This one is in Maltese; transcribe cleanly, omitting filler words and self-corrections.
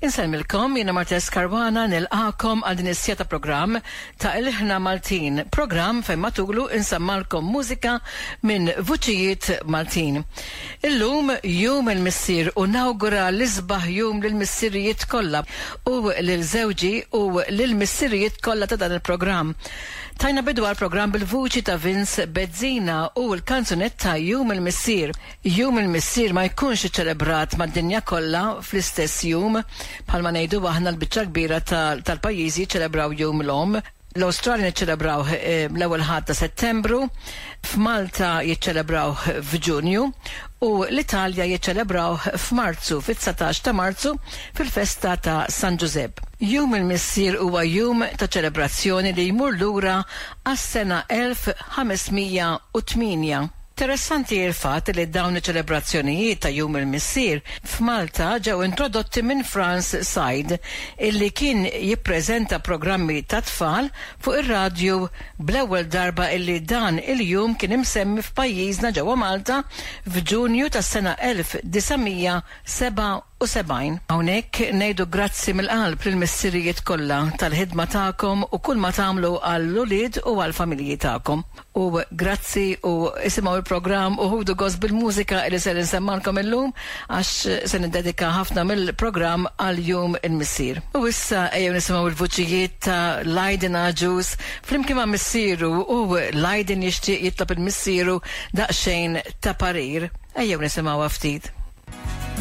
Insellmilkom, jiena Martes Caruana nilqakom għal din is-siegħa ta' programm ta' Ilħna Maltin, programm fejn matulu insemmalkom mużika minn vuċijiet Maltin. Illum Jum il-Missier u nawgura l-isbaħ jum lill-missirijiet kollha u lil żewġi u lill-missirijiet kollha ta' dan il-programm. Tajna bidu għall-programm bil-vuċi ta' Vince Bezzina u l-kanzunetta Jum il-Missier. Jum il-Missier ma jkunx iċċelebrat mad-dinja kollha fl-istess jum, bħalma ngħidu aħna l-biċċa l-kbira tal-pajjiżi jiċċelebraw Jum l-Omm. L-Awstralja niċċelebrawh l-ewwel Ħadd ta' Settembru, f'Malta jiċċelebrawh f'Ġunju u l-Italja jiċċelebrawh f'Marzu, fit-19 ta' Marzu fil-festa ta' San Ġużepp. Jum il-Missier huwa jum ta' ċelebrazzjoni li jmur lura għas-sena 1508. Interessanti l-fatt li dawn iċ-ċelebrazzjonijiet ta' Jum il-Missier f'Malta ġew introdotti minn Frans Said illi kien jippreżenta programmi tat-tfal fuq ir-radju bl-ewwel darba illi dan il-jum kien imsemmi f'pajjiżna ġewwa Malta f'Ġunju tas-sena 1977. Hawnhekk ngħidu grazzi mill-qalb lill-missirijiet kollha tal-ħidma tagħkom u kull ma tagħmlu għall-ulied u għall-familji tagħkom. U grazzi u isimgħu l-programm u ħudu gost bil-mużika li ser insemmalkom illum għax se niddedika ħafna mill-programm għal Jum il-Missier. U issa ejjew nisimgħu l-vuċijiet ta' Lydon Agius flimkien ma' missieru u Lydon jixtieq jitlob il-missieru daqsxejn ta' parir. Ejjew nisimgħuha ftit.